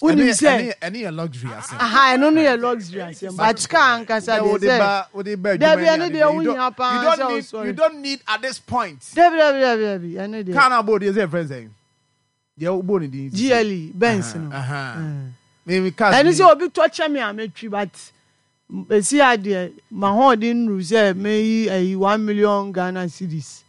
wonim sɛ ɛne yɛ luxury asɛm. Aha ɛno no yɛ luxury asɛm but car ankasa deɛ sɛ dabi ɛno deɛ wohia paa sɛ wosɔre. You don't need at this point. Dabi dabi dabi dabi ɛno deɛ. Car na abɔ deɛ sɛ yɛfrɛ sɛn? Deɛ wobɔ ne din. GLE Benz no. Ɛno sɛ obi tɔ kyɛ me a mɛtwi but ɛsi adeɛ mahoɔden nnuru sɛ mɛyi ayi 1 million Ghana cedis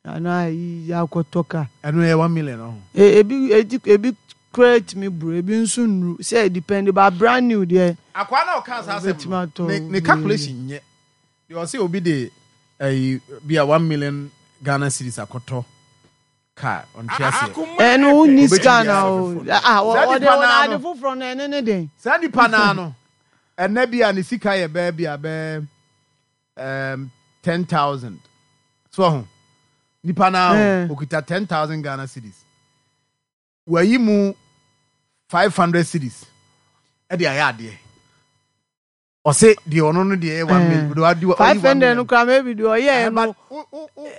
anaa ayi akɔtɔ car. Ɛno yɛ 1 million ɔho. Ebi edi ebi koraa tumi buru ebi nso nnuru sɛ depend ba brand new deɛ. Akwaa na ɔka saa asɛm no ne calculation nyɛ deɛ ɔsɛ obi de ɛyi bi a 1 million Ghana cedis akɔtɔ car ɔnte aseɛ. Ɛno wonni sika na o ah ɔde ade foforɔ no ɛne ne den. Saa nipa naa no ɛnɛ bi a ne sika yɛ bɛɛ bi a bɛɛ 10,000 so ɔho nipa naa o okita 10,000 Ghana cedis wayi mu 500 cedis ɛde ayɛ adeɛ ɔse deɛ ɔno no deɛ ɛyɛ 1 million. 500 no kora maybe deɛ ɔyɛɛ no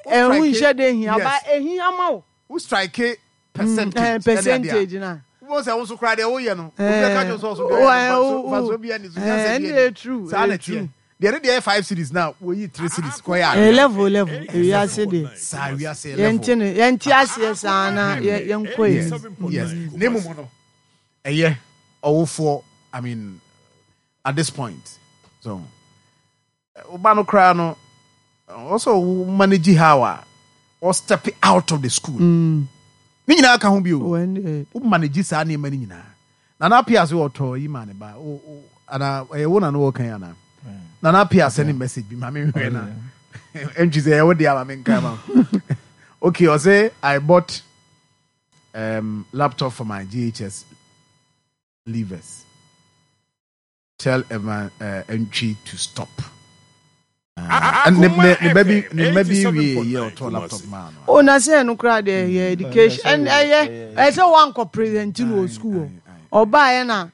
ɛho nhyɛ de hia ba ehia ma wo. Wo strike percentage percentage na. Wo sɛ wo nso koraa deɛ woyɛ no obi bɛka kyerɛ sɛ ɔso deɛ ɔyɛ no faso bi ani so nyansa bi ani saa na ɛteɛ deɛ ne deɛ yɛ 5 cedis na woyi 3 cedis kɔyɛ adeɛ. Level level ewiase deɛ saa wiase level yɛnte ne yɛnte aseɛ saa na yɛnkɔ yɛ. Yes, ne mu no ɛyɛ ɔwofoɔ, I mean, at this point so woba no koraa no ɔsɛ wo manage how a or step out of the school ne nyinaa ka ho bio, wo manage saa nneɛma no nyinaa. Nana Apia sɛ ɔtɔ yi ma ne ba ana ɛyɛ wo na no wɔkan ana Nana Apia sɛ ne message bi ma menhwɛ na ɛntwi sɛ ɛyɛ wo deɛ ama menka ma. Okay, ɔsɛ I bought laptop for my JHS leavers. Tell Evan Antwi to stop. Ne ne ba bi ne mma bi wie yɛ ɔtɔ laptop maa no. O na sɛ ɛno koraa deɛ ɛyɛ education ɛn ɛyɛ ɛyɛ sɛ wankɔ present no wɔ school hɔ ɔbaeɛ na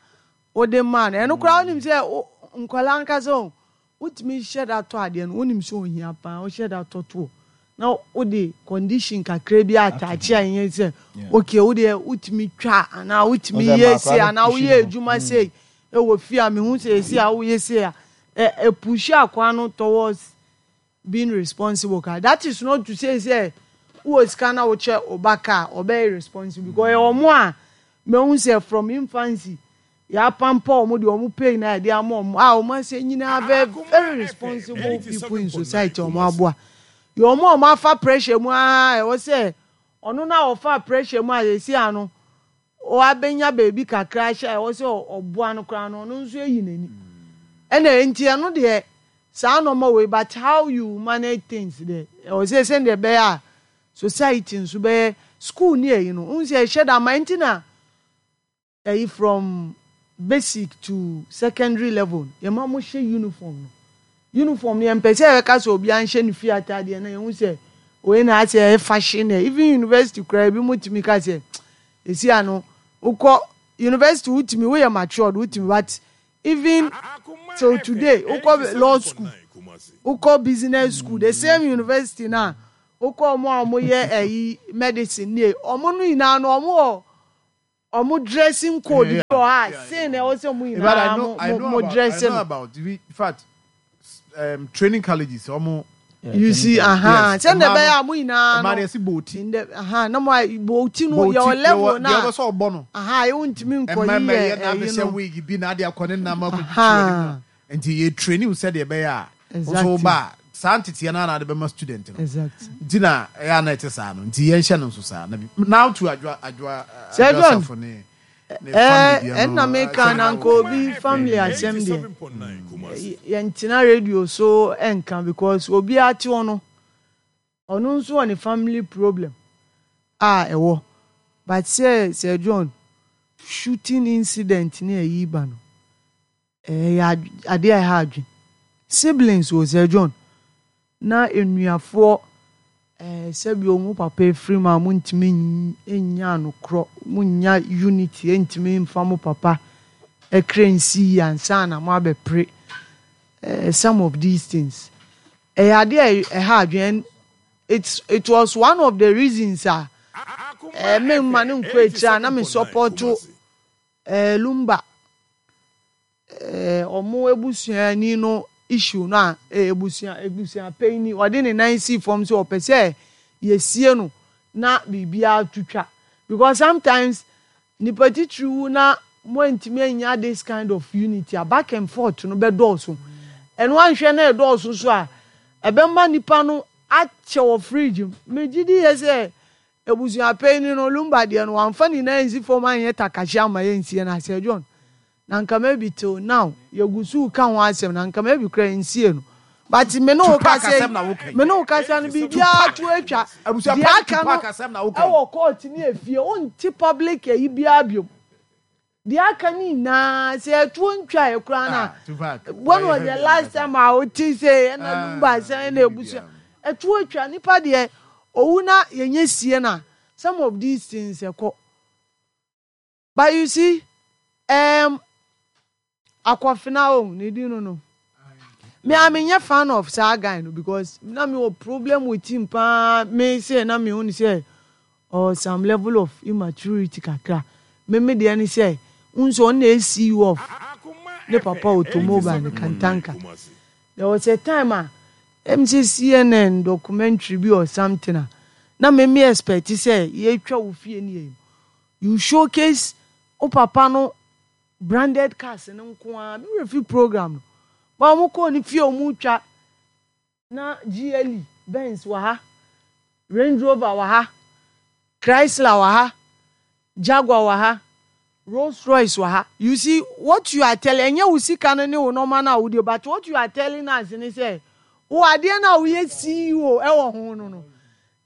wode maa no ɛno koraa wonim sɛ nkwadaa ankasa o wotumi hyɛ da tɔ adeɛ no wonim sɛ ohia paa wohyɛ da tɔ toɔ na wode condition kakra bi ataakye a ɛnyɛ sɛ okay wo deɛ wotumi twa anaa wotumi yɛ sei anaa woyɛ adwuma sei ɛwɔ fie a mehu sɛ esi a woyɛ sei a ɛpushi akoa no towards being responsible ka. That is not to say sɛ wowɔ sika na wokyɛ wo ba ka a ɔbɛyɛ responsible because ɛwɔ mo a mehu sɛ from infancy yɛapampa wɔn deɛ wɔn pay na yɛde ama wɔn a wɔn asɛ nyinaa very very responsible people in society wɔn aboa yɛ wɔn a wɔn afa pressure mu aa ɛwɔ sɛ ɔno na ɔfa pressure mu a yɛsi ano wabɛnya baabi kakra ahyɛ a ɛwɔ sɛ ɔboa no koraa no ɔno nso ayi n'ani ɛna nti ɛno deɛ saa nɔɔma wei, but how you manage things deɛ ɛwɔ sɛ sɛdeɛ ɛbɛyɛ a society nso bɛyɛ school ne ɛyi no n sɛ ɛhyɛ da ma nti na ɛyi from basic to secondary level yɛma mo hyɛ uniform no. Uniform no yɛmpɛ sɛ yɛbɛka sɛ obiara nhyɛ ne fie ataadeɛ na yɛhu sɛ wei na asɛ ɛyɛ fashion ɛ. Even university koraa ebi mo tumi ka sɛ esi ano wokɔ university wotumi woyɛ matured wotumi but Even till today, wokɔ law school, wokɔ business school, the same university na wokɔ ɔmo a ɔmo yɛ ɛyi medicine nie, ɔmo no nyinaa no ɔmo wɔ ɔmo dressing code bi wɔ hɔ a sei na ɛwɔ sɛ mo nyinaa mo mo dress no. no. In fact, training colleges ɔmo. You see, aha, sɛ na ɛbɛyɛ a mo nyinaa no. Ɛmaa yɛsi booti. Ndɛ aha na mo a booti no yɛ wɔ level na. Deɛ ɔbɛsɛ ɔbɔ no. Aha ewu ntumi nkɔ yi yɛ ɛyi no. ɛyi no. Wig bi na ade akɔ ne nam akɔ twitwi wɔ ne mu. Nti yɛ training sɛ deɛ ɛbɛyɛ a. Exactly. Nso ba saa nteteɛ no na ade bɛma student no. Exactly. Nti na ɛyɛ ana ɛte saa no nti yɛnhyɛ no nso saa na bi now to adwa adwa adwa safo ne. Ɛnna meka na nka obi family asɛm deɛ yɛntena radio so nka because obiara te hɔ no ɔno nso wɔ ne family problem a ɛwɔ but sɛ Sir John shooting incident ne ayi ba no Ɛyɛ adeɛ a ɛha adwene. Siblings o Sir John na enuafoɔ ɛɛ sɛbi ɔmo papa efiri mu a mo ntumi nnya anokorɔ, mo nnya unity ntumi nfa mo papa ɛkra nsi yie ansa na mo abɛpere ɛɛ some of these things. Ɛyɛ adeɛ a ɛha adwene and it's it was one of the reasons a ɛɛ me mma no nkɔ akyire a na me support Eh Lumba eh ɔmo abusuani no issue no a eh abusua abusua panyin ɔde ne nan sii fam sɛ ɔpɛ sɛ yɛsie no na biribiara to twa because sometimes nipa titiri wu na mo antumi anya this kind of unity a back and forth no bɛdɔɔso ɛno anhwɛ na ɛdɔɔso so a ɛbɛma nipa no akyɛ wɔ fridge mu megye di yɛ sɛ Ebusua panyin no, Lumba deɛ no, wamfa ne nan ansi fam anyɛ takashi amma yɛnsie no a, Sir John, na nka maybe till now, yɛgu so reka ho asɛm, na nka maybe koraa yɛnsiee no. But me ne wo Tupac kasa yi, asɛm na woka yi. me ne wo kasa no, biribiara to atwa. Abusua Deɛ panyin aka Tupac no asɛm na woka yi. wɔ court ne efie, wonte public ayi biara biom. Deɛ aka no nyinaa, sɛ ɛtoɔ ntwaeɛ koraa no Ah, Tupac, a, when wayɛ was the heavy last ankasa. time a wote sɛ ɛna Ah, Lumba sɛn na ɛnyɛ ebusua biribiara. ɛtoɔ atwa nipa deɛ owu na yɛnyɛ sie no a some of these things ɛkɔ but you see um, Akɔfena o ne din no no me a menyɛ fan of saa guy no because na me wɔ problem with him paa me sɛ na me hu ne sɛ ɔwɔ some level of immaturity kakra me me deɛ ne sɛ n sɛ ɔno na ɛyɛ CEO of ne papa automobile ne Kantanka there was a time a ɛm sɛ CNN documentary bi or something a na me me expect sɛ yɛtwa wo fie ne yɛ you showcase wo papa no Branded cars no nko ara, me werɛ fi program no. But wɔn kɔɔ ne fie a wɔn retwa na GLE Benz wɔ ha, Range Rover wɔ ha, Chrysler wɔ ha, Jaguar wɔ ha, Rolls Royce wɔ ha. You see what you are telling, ɛnyɛ wo sika no ne wo nneɛma no a wodie, but what you are telling us ne sɛ wo adeɛ no a woyɛ CEO ɛwɔ ho no no,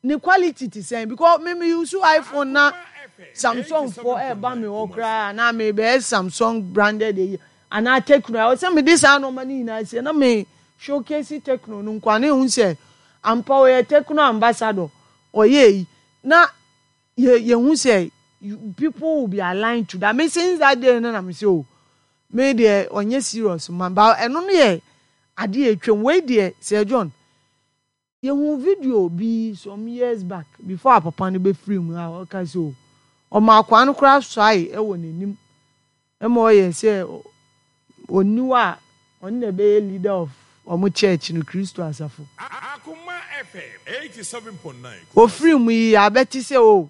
Ne quality te sɛn? Because me me use iPhone na Samsung foɔ ɛɛba me hɔ koraa anaa me bɛyɛ Samsung branded eyi anaa Tecno ɛwɔ sɛ me de saa nneɛma no nyinaa sie na me showcase Tecno no nko a na ehu sɛ ampa ɔyɛ Tecno ambassador ɔyɛ eyi na yɛ yɛhu sɛ people will be aligned to that me since that day no na me sɛ o me deɛ ɔnyɛ serious ma ba ɛno no yɛ adeɛ atwam wei deɛ Sir John. Yɛhuu video bi some years back before a papa no bɛfiri mu a ɔka sɛ o ɔma akwaa no koraa suae wɔ n'anim ma ɔyɛ sɛ ɔnni hɔ a ɔno na ɛbɛyɛ leader of wɔn church no Kristo asafo. Ɔfiri mu yi yɛabɛte sɛ o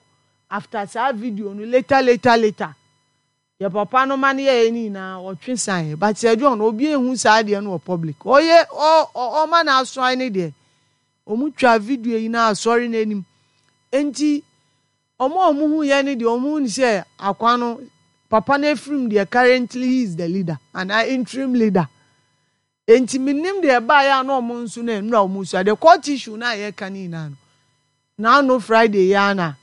after saa video no later later later Deɛ papa no ma no yɛeɛ no nyinaa ɔtwe saeɛ but Sir John obi nhu saa adeɛ no wɔ public ɔyɛ ɔ ɔma no asoae no deɛ ɔmo twa video yi na asɔre no anim nti ɔmo a ɔmo hu yɛ no deɛ ɔmo hu no sɛ akwa no papa no afirim deɛ currently he is the leader anaa interim leader nti menim deɛ ɛbaeɛ a na ɔmo nso no nnura ɔmo sua the court issue no a yɛka no nyinaa no Naano Friday yi ara na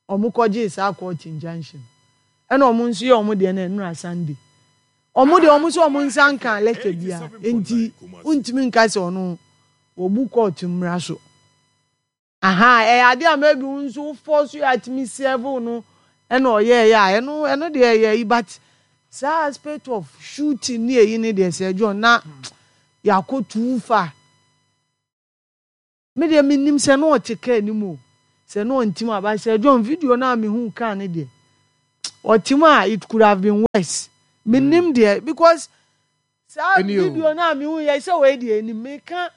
ɔmo kɔ gyee saa court injunction no. Ɛna ɔmo nso yɛ ɔmo deɛ no ɛnora Sunday. Ɔmo deɛ ɔmo sɛ ɔmo nsa nkaa letter biara nti wontumi nka sɛ ɔno wɔbu court mmra so. Ahaa ɛyɛ adeɛ a maybe wo nso wo force yɛ atumi serve wo no ɛna ɔyɛɛyɛ a ɛno ɛno deɛ ɛyɛ yi but. Saa aspect of shooting ne eyi ne deɛ, Sir John, na yɛakɔ too far. Me deɛ mennim sɛ na ɔte car no mu o, sɛ na ɔnte mu a, but Sir John, video no a mehuu car no deɛ, ɔte mu a, it could have been worse. Mennim deɛ, because saa video no a mehu yɛ sɛ wei deɛ ɛnim, meka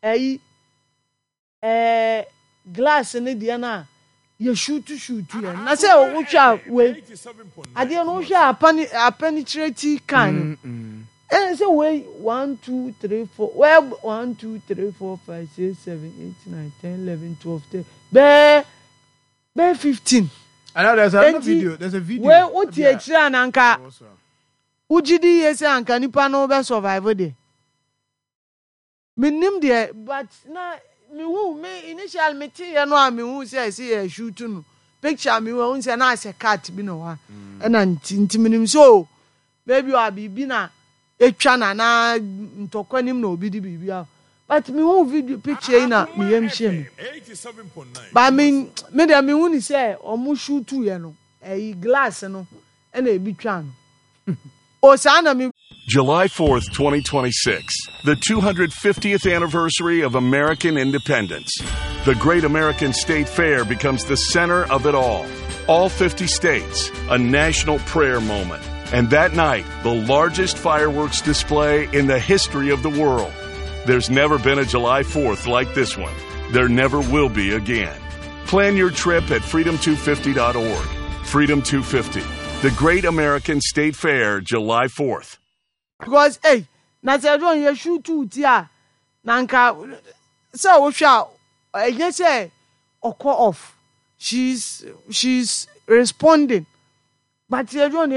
ɛyi, Ɛɛ glass no deɛ no a yɛ shuutu shuutu yɛ no na sɛ wohwɛ a wei adeɛ no wohwɛ a apani apɛnikyerɛti kan no ɛna sɛ wei 1 2 3 4 wɛɛ 1 2 3 4 5 6 7 8 9 10 11 12 13 bɛɛ 15. I know there's another Enti video. There's a video. Wei wote akyire a na anka wogye di yie sɛ anka nipa no bɛ survive deɛ. Mennim deɛ, but na mehu, me initially me teeɛ no a mehu sɛ ɛsɛ yɛ shoot no picture a mehu ɛhu sɛ na asɛ cat bi na wɔ ha ɛna nti menim sɛ o maybe ɔ biribi na etwa na na ntɔkwa nim na obi de biribi a, but mehu video picture yi na me yam hyɛ me, but me deɛ mehu ni sɛ ɔmo shoot yɛ no ɛyi glass no ɛna ebi twa no o saa na me. July 4th, 2026, the 250th anniversary of American independence. The Great American State Fair becomes the center of it all. All 50 states, a national prayer moment. And that night, the largest fireworks display in the history of the world. There's never been a July 4th like this one. There never will be again. Plan your trip at freedom250.org. Freedom 250, the Great American State Fair, July 4th. Because ei, na sɛ ɛdɔn yɛ shoot wo ti a, na nka sɛ wohwɛ a ɛnyɛ sɛ ɔkɔ off, she's responding, but yɛ dɔn.